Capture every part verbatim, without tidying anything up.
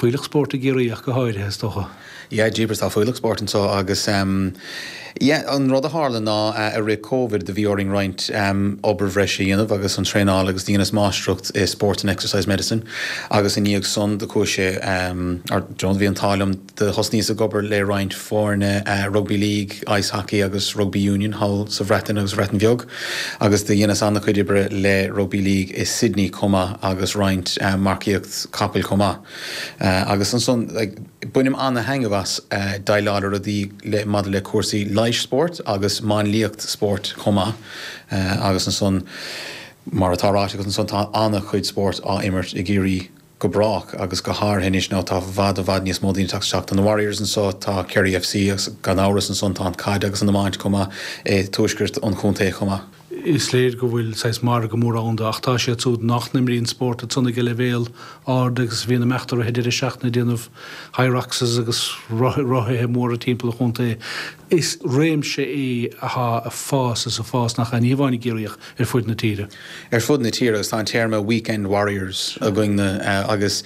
Fuílleach spóirt i gCiarraí ach go háirithe, is dócha. Yeah, jeepers, tá fuílleach spóirt anseo agus um, yeah, an rud a tharla ná uh, i rith Covid do bhí orainn roinnt um, obair bhreise a dhéanamh agus an traenáil agus dheineas máistreacht i Sport and Exercise Medicine agus i ndiaidh san do chuaigh sé um, ar John bhí an t-ádh liom do thosnaíos ag obair le roinnt foirne uh, Rugby League, Ice Hockey agus Rugby Union thall sa Bhreatain agus Bhreatain Bheag agus do dheineas an-chuid oibre le Rugby League i Sydney chomh maith agus roinnt uh, marcaíocht capaill chomh maith. Uh, agus ansan like, bainim an-thaitneamh as uh, déileáil le rudaí le maidir le cúrsaí leighis spóirt agus máinliacht spóirt chomh maith uh, agus ansan mar atá ráite agus ansan tá an-chuid spórt á imirt i gCiarraí go brách agus go háirithe anois ná tá i bhfad i bhfad níos mó daoine teacht na Warriors anseo tá Kerry F C agus gan amhras ansan tá an caid agus an iomáint chomh maith i tuaisceart an chontae chomh maith. Is léir go bhfuil saghas margadh mór ann ach tá siad siúd nach n-imríonn spórt san ag leibhéal ard agus bhíonn imeacht ar deireadh seachtaine déanamh Hyroxes agus rothaithe móra timpeall an chontae. Is réimse é atá ag fás is ag fás nach ní hamháin i gCiarraí ach ar fud na tíre. Ar fud na tíre agus tá an téarma Weekend Warriors againne uh, agus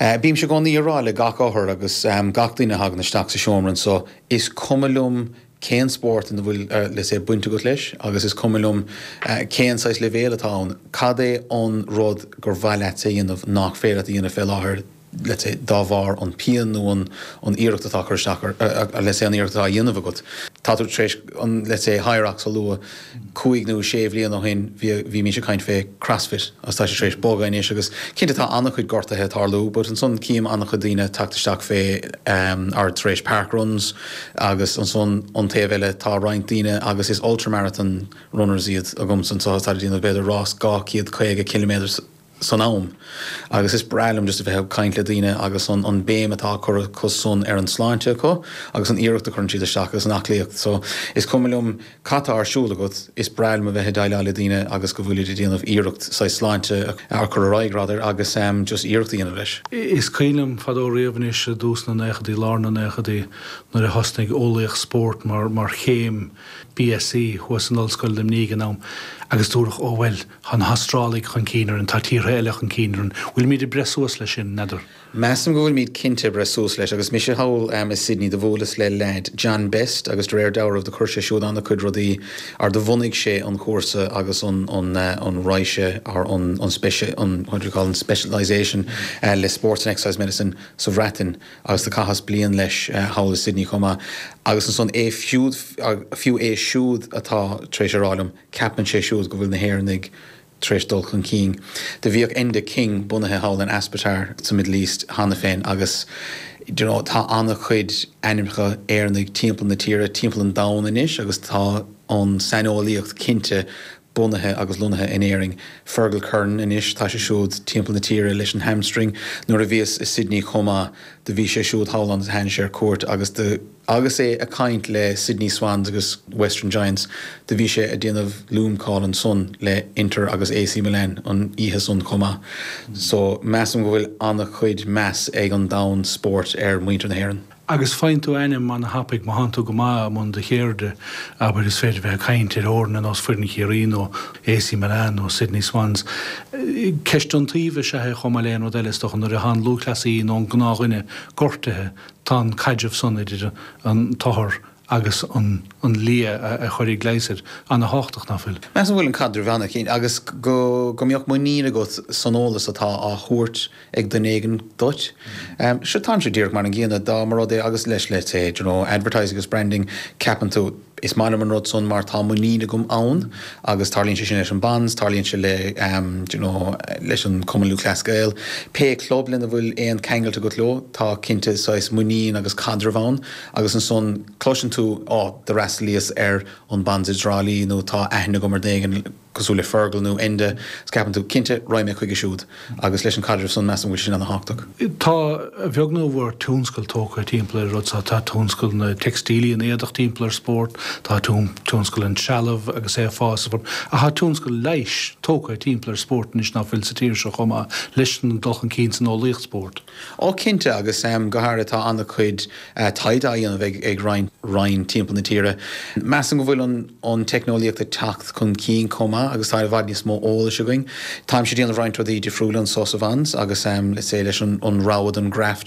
uh, bímse i gcónaí ag rá le gach othar agus um, gach duine a thagann isteach sa seomra so is cuma liom cén spórt ina bhfuil uh, le sé baint agat leis agus is cuma liom uh, cén saghas leibhéal atá ann cad é an rud gur mhaith leat a dhéanamh nach féidir a dhéanamh fé láthair let's say dá bharr an pian nó an an iarracht atá chur isteach le sé an iarracht atá dhéanamh agat. Tá tú tréis an let's say Hyrox a lua cúig nó sé bhliain ó shin bhí mise ag caint fé CrossFit agus tá sé tréis bogadh anois agus cinnte tá an-chuid gortuithe ag tarlú, but ansan cím an-chuid daoine teacht isteach fé um, ar tréis parkruns agus ansan an taobh eile tá roinnt daoine agus is ultramarathon runners iad agam san so tá déanamh b'fhéidir rás dhá chéad caoga kilometers san am. Agus is breá liom just a bheith ag caint le daoine agus an, an béim atá curtha acu san ar an sláinte acu agus an iarracht a chuireann siad isteach agus an aclaíocht. So is cuma liom cad tá ar siúl agat is breá liom a bheith ag déileáil le daoine agus go bhfuil déanamh iarracht sa sláinte a chur ar aghaidh rather agus um, just iarracht a dhéanamh leis. Is cuimhin liom fadó riamh anois i dtús na nóchaidí, lár na nóchaidí nuair a thosnaigh eolaíocht spóirt mar mar chéim B S C thuas in Ollscoil Luimnigh an am agus dúradh ó bhuel tá na hAstrálaigh chun cinn orainn, tá tíortha eile chun cinn orainn, bhfuilimid ag breith suas leis sin n'fheadar. Measaim go bhfuilimid cinnte ag breith suas leis agus mise thall um, i Sydney do bhuaileas le leaid John Best agus de réir dealraimh do chuir sé siúd an-chuid rudaí ar do bhunaigh sé an cúrsa agus an an uh, an raise ar an an speci an what do you call an specialization uh, le sports and exercise medicine sa Bhreatain agus do chaitheas bliain leis uh, thall i Sydney chomh maith agus ansan é fiúd fiú é siúd atá tréis a rá liom ceapann sé siúd go bhfuil na hÉireannaigh tréis dul chun cinn. Do bhíodh Enda King bunaithe thall in Aspetar sa Middle East cheana féin agus you know, tá an-chuid ainmneacha Éireannaigh timpeall na tíre timpeall an domhain anois agus tá an saineolaíocht cinnte bunaithe agus lonnaithe in Éirinn. Fergal Curran anois tá sé siúd timpeall na tíre leis an hamstring nuair a bhíos i Sydney chomh maith do bhí sé siúd thall an tháinig sé ar cuairt agus de agus é ag caint le Sydney Swans agus Western Giants do bhí sé ag déanamh Loom call ansan le Inter agus A C Milan an oíche san chomh maith. So measaim go bhfuil an-chuid meas ag an domhan spóirt ar muintir na hÉireann. Agus faigheann tú ainm an-thapaidh má thánn tú go maith i mbun do cheirde abair is féidir bheith ag caint ar fhoirne ar nós foireann Chiarraí nó A C Milan nó Sydney Swans. Ceist an taobh is ea chomh maith le aon rud eile is dócha nuair atá an lúthchleasaí nó an gnáthdhuine gortaithe tá an caidreamh san idir an t-othar agus an, an lia a, a chuirfidh leigheas air an-tábhachtach nach bhfuil. Measaim go bhfuil an caidreamh an-chinnte agus go go mbeadh muinín agat san eolas atá á thabhairt ag duine éigin duit. Um, Seo tá sé díreach mar an gcéanna dá mar rud é agus leis le sé you know, advertising agus branding ceapann tú is maith liom an rud san mar tá muinín agam ann agus tarlaíonn sé sin leis an Bonds, tarlaíonn sé le um, you know, leis an Cumann Lúthchleas Gael. Pé club lena bhfuil aon cheangal agat leo tá cinnte saghas muinín agus caidreamh ann agus ansan cloiseann tú á do fhreastalaíos ar an Bonds i dTrá Lí nó tá aithne agam ar dhuine cosúil le Fergal nó Enda ceapann tú cinnte raghaidh mé chuige siúd agus leis an caidreamh san measaim go bhfuil sin an-tábhachtach. Tá a bheag nó a mhór tionscal tógtha timpeall ar rud tá tionscal na teicstílí an éadach timpeall ar spórt, tá tionscal an trealamh agus é fás a tá tionscal leighis tógtha timpeall ar spórt anois nach bhfuil sa tír seo chomh maith leis an dul chun cinn san eolaíocht spóirt. Ó cinnte agus um, go háirithe tá an-chuid uh, taighde á dhéanamh ag, ag roinnt roinn timpeall na tíre. Measaim go bhfuil an, an teicneolaíocht ag teacht chun cinn chomh maith maith agus tá i bhfad níos mó eolais againn. Táim ag déanamh roinnt rudaí difriúla anseo sa Bhans agus um, let's say leis an, an rogha den graft